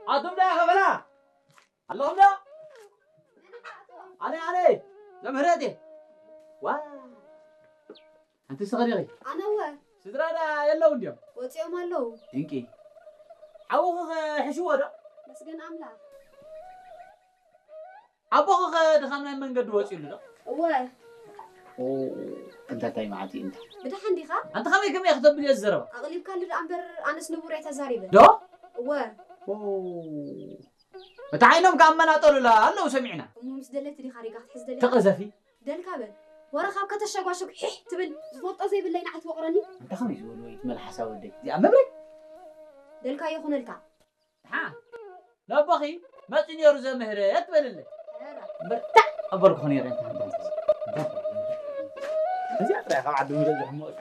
ኣቱም ዳ ከበላ ኣለኹም ዶ? ኣነ ኣነ ዘምህረት እየ። ዋ ኣንቲ ስኸሪኺ ኣነ እወ። ስድራ ዳ የለው እንዲዮም? ወፂኦም ኣለዉ። ድንቂ። ሓውኺ ኸ ሕሽዎ ዶ? መስገን ኣምላኽ። ኣቦኺ ኸ ድኻም ናይ መንገዲ ወፂኡሉ ዶ? እወ። ኦ፣ እንታ እንታይ መዓት እዩ እንታ። ብድሓን ዲኻ? ኣንታ ከመይ ከመይ ክተብል እየ ዝዘረባ? ኣቕሊብካሉ ደኣ እምበር ኣነስ ንቡር እየ ተዛሪበ። ዶ? እወ። ኦ። እቲ ዓይኖም ከኣ መናጠሉላ ኣለዉ ሰሚዕና። እሞ ምስ ደለቲ ዲኻ ሪጋ ክትሕዝ ደሊኻ? ተቐዘፊ። ደልካ በል። ወረ ካብ ከተሸጓሸግ ሒሕ ትብል ዝፈልጦ ዘይብለይ ንዓይ ትወቕረኒ። ኣንታ ከመይ ዝበሉ ወይ ትመልሓሳ ወደይ። እዚኣ መብረይ። ደልካ ይኹነልካ። ሓ ነቦኺ መፂ ነይሩ ዘምህረ ትበልለይ። ኧረ። እምበር ታዕ ኣበልኩ ነይረ። እዚኣ ጥራይ ካብ ዓዲ ምህረ ዝሕሞቕካ።